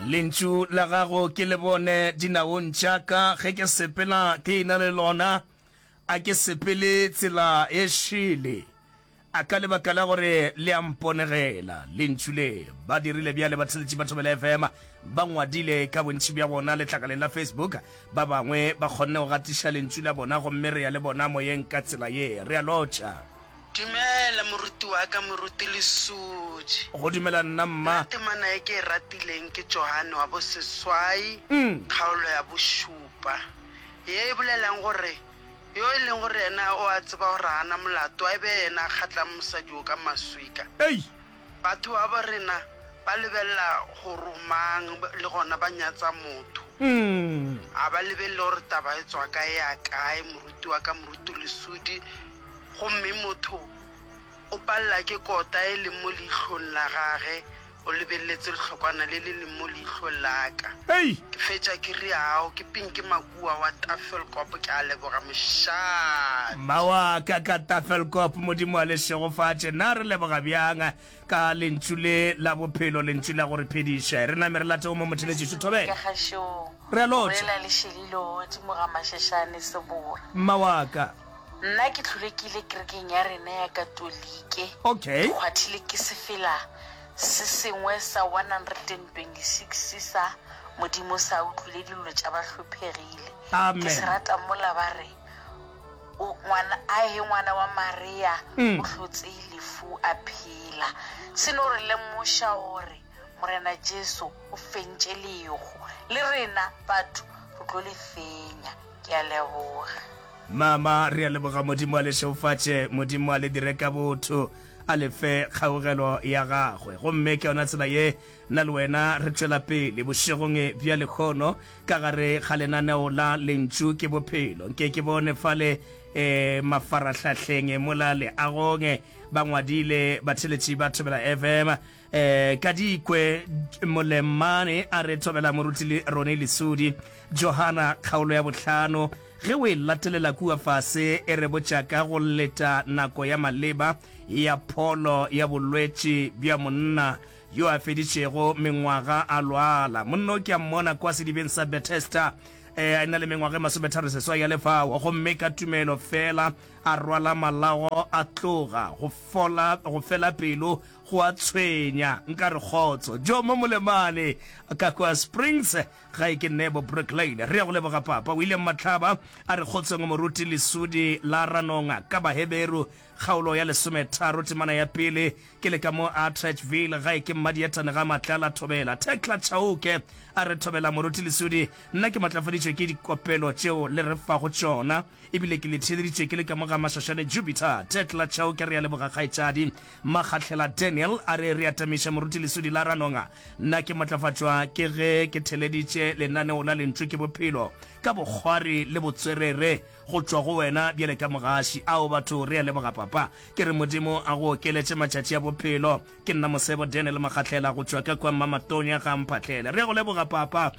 Lentšu la gago ke le bone dinaong tša ka, ge ke sepela ke ena le lona, a ke sepele tsela e šele. A ka lebaka la gore le a mponegela. Lentšu le ba dirile bjale batheletši ba Thobela FM ba ngwadile ka bontši bja bona letlakaleng la Facebook. Ba bangwe ba kgonne go gatiša lentšu la bona gomme re ya le bona moyeng ka tsela ye. Re a lotšha. Dumela moruti wa ka, moruti Lesodi. Go dumela nna mma. Nna temana ye ke e ratileng ke Johane wa boseswai, kgaolo ya bošupa, ye e bolelang gore Yo e leng gore yena o a tseba gore ga a na molato, a e be yena a kgatlang mosadi wo ka maswika. Ei! Batho babo rena ba lebelela gore o mang le gona ba nyatsa motho. Ga ba lebelele gore taba e tswa kae e ya kae, moruti wa ka, moruti Lesodi. Gomme motho o palela ke kota e leng mo leihlong la gage, O lebeletse lehlokwana le le leng mo leihlong la ka. Hei! Ke fetša ke re, Ao, ke Pinky Makua wa Tafelkop, ke a leboga mošate. Mma wa ka ka Tafelkop, Modimo a le šegofatše. Na re leboga bjang ka Lentšu le la bophelo, Lentšu la go re phediša. Re name re late go mo motheletšišo. Thobela. Ka kgašong. Re a lotšha. Bolela le Šelilo godimo ga Mašešane Sebora. Mma wa ka. Nna ke hlole ke ile kerekeng ya rena ya Katolike. Okay. Ke kgwathile ke sefela se sengwe sa 126 sa Modimo sa utlwile dillo tša bahlophegile. Ke se Amen. rata mola ba re, O, ngwana, ahe ngwana wa Maria o hlotse lefu a phela. Se no re lemoša gore Morena Jesu o fentše lehu. Le rena batho re tlo le fenya. Ke a leboga. Mama, re a leboga. Modimo a le šegofatše. Modimo a le dire ka botho, a le fe kgaugelo ya gagwe. Gomme ke yona tsela ye nna le wena re tšwela pele bošegong bja lehono ka gare ga lenaneo la Lentšu ke Bophelo. Nke ke bone fale e, mafarahlahleng mola leagong ba ngwadile batheletši ba Thobela FM E, ka dikwe Molemane a re thobela moruti le Rone Lesodi. Johana kgaolo ya bohlano, ge o e latelela kua fase e re botša ka go leta nako ya maleba ya pholo ya bolwetši bja monna yo a feditšego mengwaga a lwala. Monna o ke a mmona kwa sedibeng sa Bethesda e, a na le mengwaga e masometharoseswai ya lefao, gomme ka tumelo feela a rwala malago a tloga go fola go fela pelo Go a tshwenya, nka re kgotso. Jomo Molemane, ka kua Springs, gae ke Nebo Brick Lane. Re ya go leboga papa. William Matlaba a re kgotsong moruti Lesodi la Ranonga ka Baheberu, kgaolo ya lesometharo, temana ya pele. Ke le ka mo Atteridgeville, gae ke Mmadietane ga Matlala Thobela. Thekla Chauke a re thobela moruti Lesodi, nna ke matlafaditšwe ke dikopelo tšeo le re fago tšona. Ebile ke le theeleditše ke le ka mo ga Mašašane Jupiter. Thekla Chauke re a leboga kgaetšadi. Makgahlela Daniel a re re atamiša Moruti Lesodi la Ranonga. Nna ke matlafatšwa ke ge ke theleditše lenaneo la Lentšu ke Bophelo ka bokgwari le botswerere go tšwa go wena bjale ka mogaši. Ao batho re a leboga papa. Ke re Modimo a go okeletše matšatši a bophelo. Ke nna Mosebo Daniel Makgahlela go tšwa ka kwa Mmamatonya ga Mphahlele. Re a go leboga papa.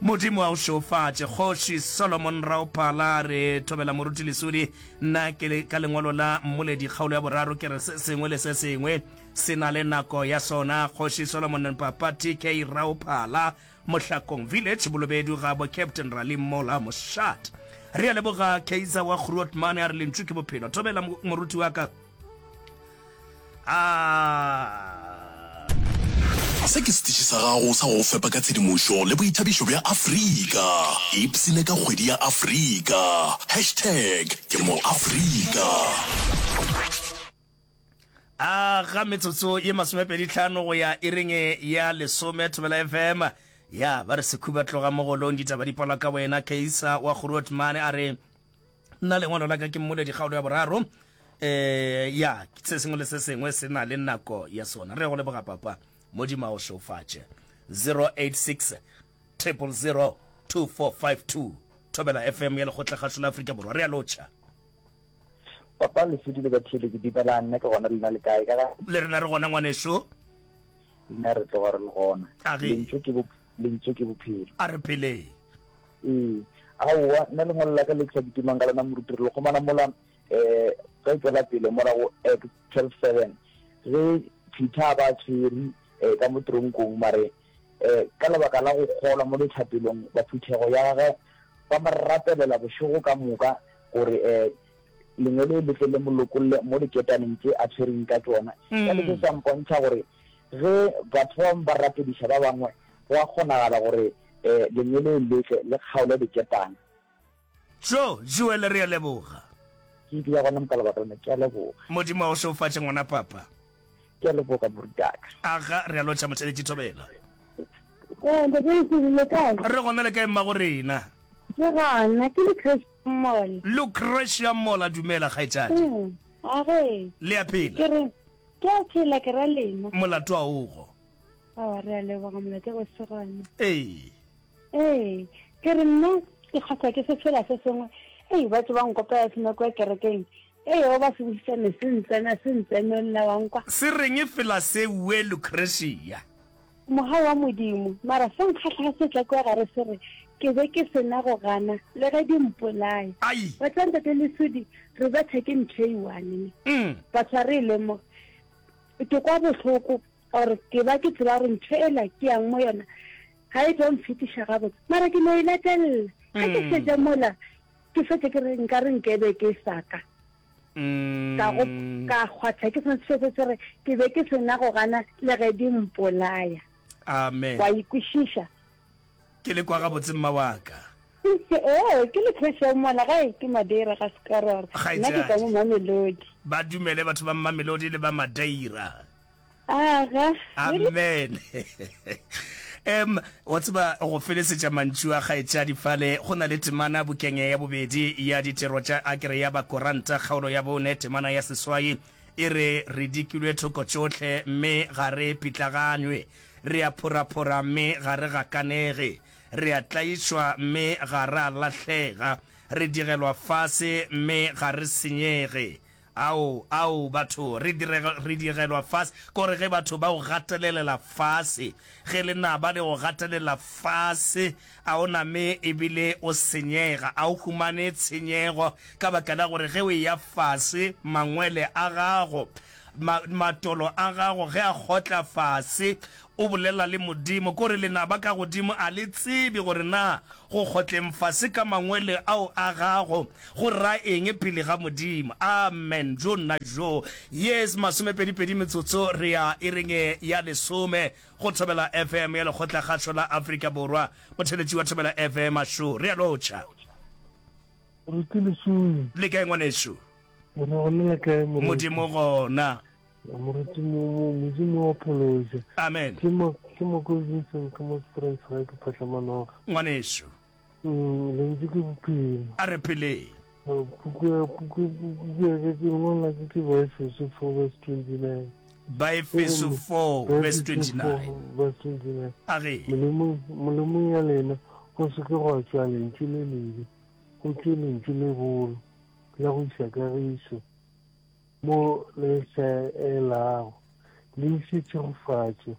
Modimo a o šeofatše. Kgoši Solomon Raophala a re, Thobela Moruti Lesodi, nna ke le ka lengwalo la Mmoledi kgaolo ya boraro ke re se sengwe le se sengwe se na le nako ya sona. Kgoši Solomon Papa TK Raophala, Mohlakong Village, Bolobedu gabo Captain Rali Mola Moshat. Re a leboga Kaiser wa Grootman a re lentšu ke bophelo. Thobela moruti wa ka. A. Se ke setiši sa gago sa go go fepa ka tshedimošo le boithabišo bja Afrika. Ipshine ka kgwedi ya Afrika. Hashtag ke mo Afrika. A ga metsotso ye masomepeditlhano go ya iring ya lesome Thobela FM ya ba re sekhuba tloga mogolong ditaba di palwa ka wena Keisa wa Grootman a re Nna lengwalo la ka ke Mmoledi kgaolo ya boraro. Eh, ya, se sengwe le se sengwe se na le nako ya sona. Re go leboga papa. Modimo a o šeofatše. 086 000 2452 Thobela FM ya Lekgotlakgašo la Afrika Borwa. Re a lotšha. Papa Lesedi le batheeletši dumelang, nna ke gona lena le kae ka ga? Le rena re gona ngwaneso. Nna re tloga re le gona. A ge. Lentšu ke lentšu ke bophelo. A re pheleng. Ee, aowa, nna lengwalo la ka le ke sa kitimang ka lona moruti, re le kgomana mola um ge o tšwela pele mola go Acts 12:7 ge Peter a ba tshwere um ka mo tronkong mare. um ka lebaka la go kgolwa mo dithapelong ba phuthego ya gagwe ba mo rapelela bošego ka moka gore um lengwele le tle le mo lokolle mo diketaneng tše a tshwereng ka tšona. Bjale se sa mpontšha gore ge batho ba bangwe ba rapediša ba bangwe, go a kgonagala gore um lengwele le tle le kgaole diketane. Tjo, Joel re a leboga. Ke dula gona mo ka lebaka lena. Ke a leboga. Modimo a go šegofatše ngwana papa. Ke a leboga morutaka. Aga, re a lotšha motheletši Thobela. Ee, ntate Lesedi, le kae? Re gona le kae mmago rena? Ke gona, ke Lucretia Mola. Lucretia Mola, dumela kgaetšadi. Mm, age. Le a phela? Ke re, ke a phela ke ra lena. Molato a ogo. Awa, re a leboga molato go se gona. Ee. Ee, ke re nna ke kgahlwa ke sefela se sengwe. Ei, batho ba nkopela sena kua kerekeng. Ei, o ba se bosisane se ntsena, se ntsene nna wa nkwa. Se reng fela se ue Lucretia? Mogau wa Modimo. Mara se nkgahla ga se tla kua gare se re, Ke be ke se na go gana, le ge di mpolaya. Ai! Wa tseba Ntate Lesodi, re betha ke ntho e one ne. Batho ga re e lemoge. Ke kwa bohloko or ke ba ke tseba gore ntho ela ke yang mo yona ga e tlo mfetiša gabotse. Mara ke no e latelela. Ge ke fetša mola, ke fetše ke re nka re nkebe ke sa ka. Ka go ka kgwatha ke sone se se re ke be ke sena go gana le ge di mpolaya. Amen. Wa ikwešiša? Ke le kwa gabotse mma wa ka. Ee, ke le Christian mola gae ke Madeira ga Sekarora. Nna ke tšwa mo Mamelodi. Ba dumele batho ba Mamelodi le ba Madeira. Aga. Amen. Em, wa tseba go felesetša mantšu a kgaetšadi fale, go na le temana bukeng ya bobedi ya Ditiro tša Akere ya Bakoranta, kgaolo ya bone, temana ya seswai, e re, Re dikilwe thoko tšohle, mme ga re pitlaganywe, re a phoraphora, mme ga re gakanege, re a tlaišwa, mme ga ra lahlega, re digelwa fase, mme ga re senyege. Ao, ao, batho, re direga, re digelwa fase. Ke gore ge batho ba go gatelelela fase, ge lenaba le go gatelela fase, a o name ebile o senyega, a o humane tshenyego, ka baka la gore ge o eya fase, mangwele a gago, ma, matolo a gago ge a kgotla fase, o bolela le Modimo. Ke gore lenaba ka godimo a le tsebe gore na go kgotleng fase ka mangwele ao a gago go ra eng pele ga Modimo. Amen. Jo nna jo. Yes, masomepedipedi metsotso re ya iring ya lesome go Thobela FM ya Lekgotlakgašo la Afrika Borwa. Motheletši wa Thobela FM a šo. Re a lotšha. Moruti Lesome. Le kae ngwanešu? Re gona le kae moruti? Modimo gona. Moruti mo, mo, Modimo wa phološa. Amen. Ke mo, ke mo ko Vincent ka mo Springs ga ke phahla manoga. Ngwanešu. Mm, lentšu ke bophelo. A re pheleng. Puku ya, puku, puku ya ka ke lengwalo la ka ke Baefeso 4 verse 29. Baefeso 4 verse 29. Verse 29. A re. Molomong, molomong ya lena go se ke gwa tšwa lentšu le lebe, go tšwe lentšu le bolo la go iša kagišo. Mo le hlaelago, le iše tšhegofatšo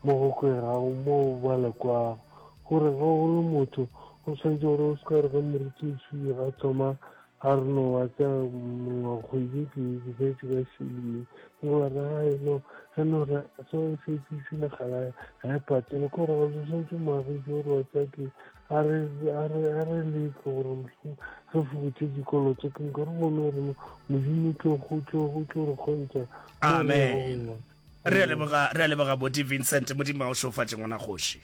mo go kwegago moo ba le kwago. Gore ge o le motho, o swanetše gore o se ka re ge morutiši a thoma a re no wa tsa mongwe kgwedi ke ke šetše ka šile ke gore re ai no ge no re so e šetše šile gala ga e patele ke gore go swanetše moagiši gore wa tsa ke a re a re a re leke gore mohlomong re fokotše dikoloto ke nka re bone gore modimo tlo go tlo go tlo re kgontšha amen re a leboga re a leboga boti vincent modimo a o šofatše ngwana kgoši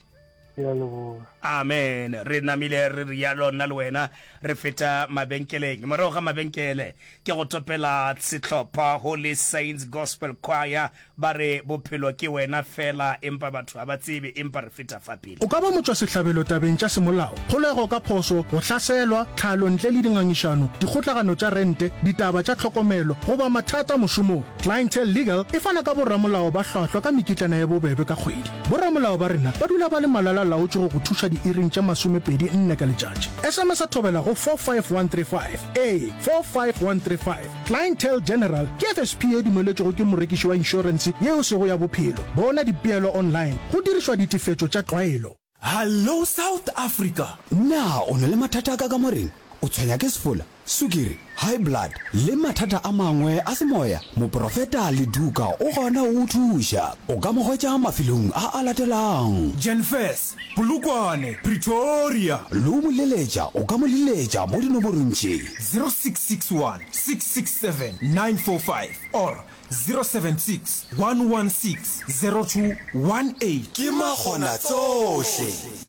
ke a leboga amen re namile re rialo nna le wena re feta mabenkeleng morago ga mabenkele ke go topela sehlopha holy saints gospel choir Ba re bophelo ke wena fela, empa batho ga ba tsebe, empa re feta fa pele. O ka ba motšwasehlabelo tabeng tša semolao, kgolego ka phošo, go hlaselwa, tlhalo ntle le dingangišano, dikgotlagano tša rente, ditaba tša tlhokomelo, goba mathata mošomong. Clientele Legal e fana ka boramolao ba hlwahlwa ka mekitlana ye bobebe ka kgwedi. Boramolao ba rena ba dula ba le malala-laotšwe go go thuša diiring tše masomepedi nne ka letšatši. SMS-a thobela go 45135. Ee, 45135. Clientele General ke FSP ye dumeletšwego ke morekiši wa inšorense yeo sego ya bophelo. Bona dipeelo online go dirišwa ditefetšo tša tlwaelo. Hallo South Africa! Na o na le mathata a ka kamoreng? o tshwenya ke sefola, sukiri, high blood le mathata a mangwe a semoya? Moprofeta Leduka o gona go go thuša. O ka mo hwetša mafelong a a latelang. Jenfes, Polokwane, Pretoria. Le go mo leletša o ka mo leletša mo dinomorong tše. 0661 667 945 or 076 116 0218. Ke makgonatsohle.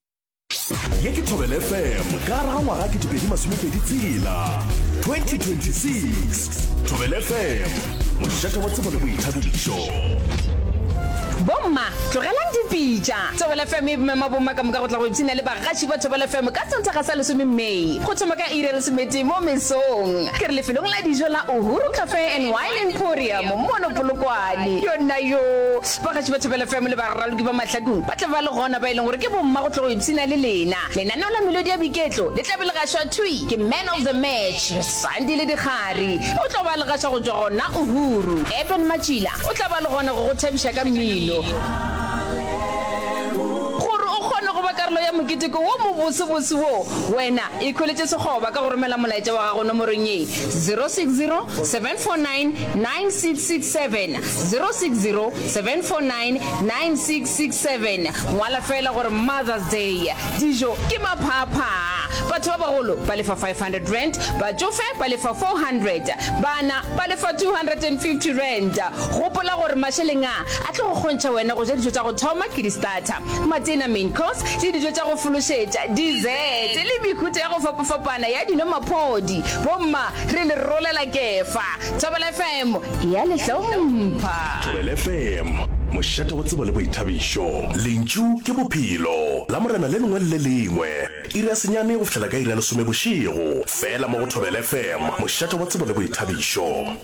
Ye ke Thobela FM ka gare ga ngwaga 2026, 2026. Thobela FM, mošate wa tsebo le boithabišo. Bomma, tlogelang dipitša! Thobela FM e mema bomma ka moka go tla go ipshina le bagaši ba Thobela FM ka Sontaga sa lesome May go thoma ka iri ya lesometee mo mesong. Ke re lefelong la dijo la Uhuru Cafe and Wine Emporium mono Polokwane. Yonna yoo! Bagaši ba Thobela FM le baraloki ba Mahlakung ba tla ba le gona ba e leng gore ke bomma go tlo go ipshina le lena. Lenaneo la Melodi ya Boiketlo le tla be le gašwa thwi ke Man of the Match, Sandile Dikgari. O tlo ba le gaša go tšwa gona Uhuru. Eben Matšila o tla ba le gona go go thabiša ka mmino. Gore o kgone go ba karolo ya moketeko wo mobosebose wo, wena ikhweletše sekgoba ka go romela molaetša wa gago nomorong ye, 060 749 9667. 060 749 9667. Ngwala feela gore Mother's Day. Dijo ke maphaaphaa. Batho ba bagolo ba lefa R500, batšofe ba lefa R400, bana ba lefa R250. Gopola gore mašeleng a a tlo go kgontšha wena go ja dijo tša go thoma ke di-starter, matena, main course, le dijo tša go fološetša, dessert, le mehuta ya go fapafapana ya dino maphodi. Bomma, re le rolela kefa. Thobela FM e a le hlompha. Thobela FM, mošate wa tsebo le boithabišo. Lentšu ke bophelo. Lamorena le lengwe le le lengwe, iri ya senyane go fihlela ka iri ya lesome bošego, feela mo go Thobela FM, mošate wa tsebo le boithabišo.